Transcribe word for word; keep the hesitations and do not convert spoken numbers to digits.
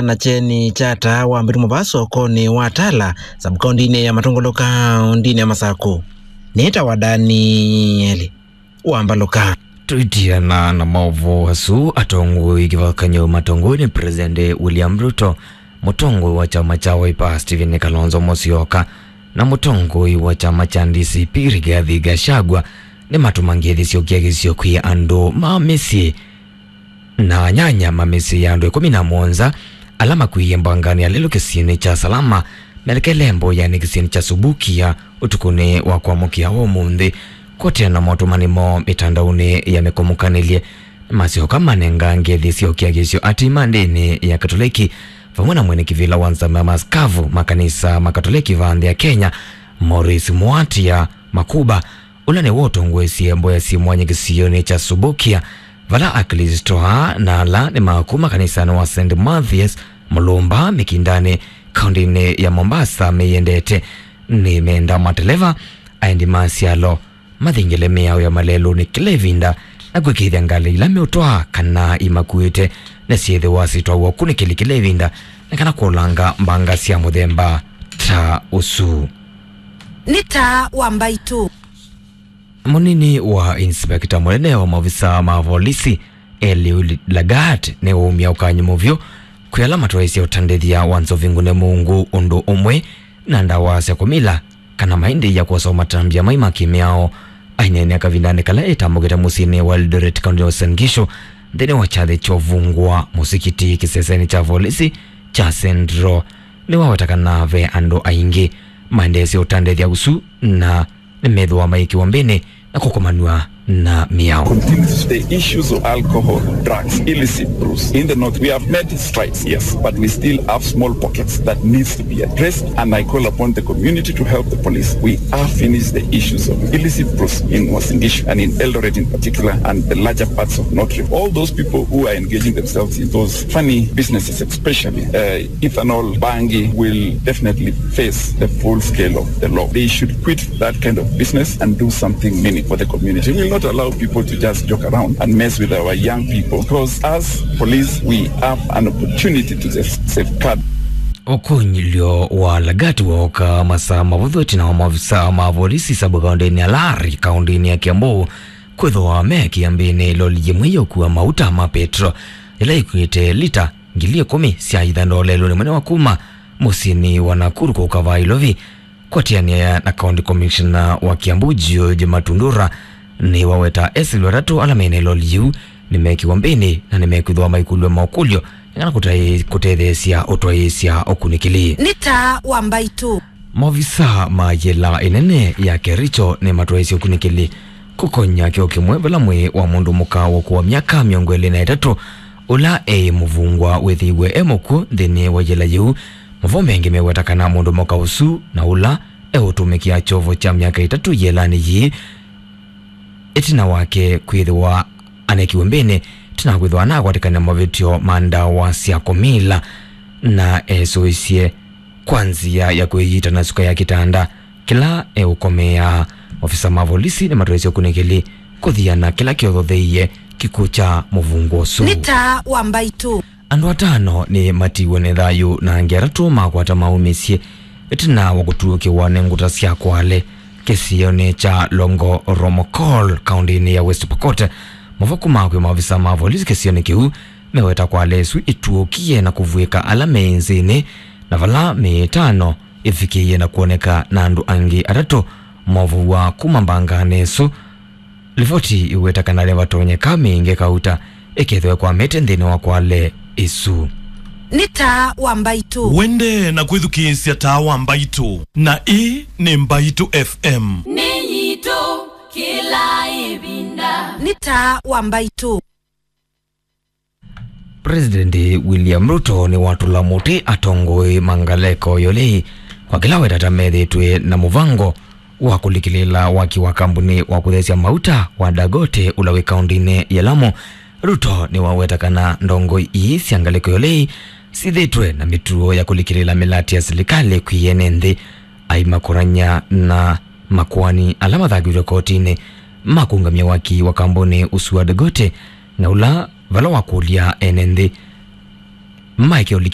na kyeni kya taa wa mbĩtu mũvaa sokonĩ wa Tala, sub-kaũntĩnĩ ya Matũngũlũ, kaũntĩnĩ ya Masakũ. Nĩtawa Danieli Wambalũka. Tũitiana na maũvoo asu, atongoi kĩvathũkany'o matongoi nĩ President William Ruto, mũtongoi wa kyama kya Wiper Stephen Kalonzo Musyoka, na mũtongoi wa kyama kya D C P Rigathi Gachagua nĩmatũma ngethi syũkĩa kĩsio kwĩ andũ ma mĩsyĩ na anyanya ma mĩsyĩ ya andũ ĩkũmi na mũonza ala makw'ĩĩe mbanganĩ ya lelũ kĩsionĩ kya Salama, melekele mboyanĩ kĩsionĩ kya Subukia ũtukũnĩ wa kwamũkĩa ũmũnthĩ, kũatĩana na motũmani moo mĩtandaonĩ ya mĩkomũkanĩlye. Masyoka manenga ngethi sya ũkĩa kĩsio atii ma ndĩni ya Katoleki, vamwe na mwene kĩvĩla wa nzama ya maskavu makanisa ma Katoleki va nthĩ ya Kenya, Maurice Muatia Makuba, ũla nĩwe ũtongoesye mboya syĩ mwanya kĩsionĩ kya Subukia, vala Aklĩsto aa na ala nĩ ma kuma kanisanĩ wa Saint Mathias Mulumba Mĩkindanĩ, kaũntĩnĩ ya Mombasa, meyendete. Nĩmenda mateleva, aendi ma syalo, mathingĩle mĩao ya malelũnĩ kĩla ĩvinda, na kwĩkĩĩthya ngalĩ ila meũtwaa kana imakuĩte nĩsyĩthĩwa syĩtwawa ũkunĩkĩli kĩla ĩvinda, nĩ kana kũlanga mbanga sya mũthemba ta ũsu. Nĩ taa wa mbaitũ. Mũnini wa inspekta mũnene wa maovisa ma volisi, Eliud Lagat, nĩwaumya ũkany'o mũvyũ kwĩ ala matwaĩsye ũtandĩthya wa nzovi ngune mũungu ũndũ ũmwe na ndawa sya kũmila kana maendeea kwosa matambya mai ma kĩmĩao. Aineenea kavindanĩ kala etambũkĩte mũsyĩnĩ wa Eldoret, kaũntĩ ya Uasin Gishu, nthĩnĩ wa kyathĩ kya ũvungũa mũsikiti kĩsesenĩ kya volisi kya Central, nĩwaweta kana ve andũ aingĩ maendeesye ũtandĩthya ũsu na nĩmethĩwa maĩkĩwa mbĩnĩ na kũkomanw'a na mĩao. Continues the issues of alcohol, drugs, illicit brews. In the north, we have made strides, yes, but we still have small pockets that needs to be addressed, and I call upon the community to help the police. We have finished the issues of illicit brews in Uasin Gishu and in Eldoret in particular, and the larger parts of North Rift. All those people who are engaging themselves in those funny businesses, especially, uh, ethanol, bangi, will definitely face the full scale of the law. They should quit that kind of business and do something meaningful for the community. We will not allow people to just joke around and mess with our young people, because as police, we have an opportunity to just safeguard. Ũkũnyĩlyo wa Lagat wooka masaa mavũthũ ĩtina wa maofisa ma volisi sub-kaũntĩnĩ ya Lari, kaũntĩnĩ ya Kiambu, kwĩthĩwa me kĩambĩnĩ loli yĩmwe ya ũkua mauta ma petro, yĩla yĩkuĩte lita ngili ĩkũmi sya ithandoo lelũnĩ mũnene wa kuma mũsyĩnĩ wa Nakuru kũka vaa Ilovi, kũatĩanĩa na County Commissioner wa Kiambu, George Matundura, nĩwaweta esĩlĩ atatũ ala mene loli yĩu nĩmekiwa mbĩnĩ na nĩmekwĩthĩwa maikũlw'a maũkũlyo nĩ kana kũtaĩ-, kũtetheesya ũtwaĩĩsya ũkunĩkĩli. Nĩ taa wa mbaitũ. Maovisa ma yĩla ĩnene ya Kericho nĩmatwaĩĩsye ũkunĩkĩli kũkonya kĩo kĩmwe vala mwĩĩ wa mũndũ mũka wa ũkũũ wa myaka mĩongo ĩlĩ na ĩtatũ, ũla eĩ mũvungwa, wĩthĩiwe e mũkw'ũ nthĩnĩ wa yĩla yĩu. Mavoo mengĩ meweta kana mũndũ mũka ũsu na ũla eũtũmĩkĩa kyovo kya myaka ĩtatũ yĩlanĩ yĩĩ, ĩtina wake kwĩthĩwa anekiwe mbĩnĩ, ĩtina wa kwĩthĩwa anakwatĩkana mavĩtyo ma ndawa sya kũmila, na esũisye kwa nzĩa ya kwĩyita na suka ya kĩtanda kĩla eũkomeaa. Ofisa ma volisi nĩmatwaĩsye ũkunĩkĩli kũthiana kĩla kĩothotheie kĩkw'ũ kya mũvungwa ũsu. Nĩ taa wa mbaitũ. Andũ atano nĩmatiiwe nĩ thayũ na angĩ atatũ makwata maumĩsye ĩtina wa kũtuũkĩwa nĩ ngũta sya kwale kĩsionĩ kya Longo Romokol, kaũntĩnĩ ya West Pokot. Mavoo kuma kwĩ maovisa ma volisi kĩsionĩ kĩu meweta kwale ĩsu ĩtuũkie na kũvw'ĩka ala me nzĩnĩ, na vala mĩĩ ĩtano ĩvikĩie na kwoneka na andũ angĩ atatũ movow'a kuma mbanganĩ ĩsu. Livoti iweta kana nĩvatonyeka mĩĩ ĩngĩ kauta ĩkethĩwe kwamĩte nthĩnĩ wa kwale ĩsu. Nĩ taa wa mbaitũ. Wende na kwĩthukĩĩsya taa wa mbaitũ, na ĩĩ nĩ Mbaitũ F M. Nĩ yitũ kĩla ĩvinda. Nĩ taa wa mbaitũ. President William Ruto nĩwatũla mũtĩ atongoi ma ngalĩko yolei kwa kĩla wetata methĩtwe na mũvango wa kũlikĩlĩla waki wa kambuni wa kũthesya mauta wa Dangote ũla wĩ kaũntĩnĩ ya Lamu. Ruto nĩwaweta kana ndongoi ii sya ngalĩko yolei syĩthĩtwe na mĩtuo ya kũlikĩlĩla mĩlatĩ ya silikalĩ kwĩ ene nthĩ, aimakũnany'a na makoani ala mathakĩtwe kotinĩ ma kũũngamya waki wa kambuni ũsu wa Dangote, na ũla vala wakũlya ene nthĩ maeke ũlikĩlĩla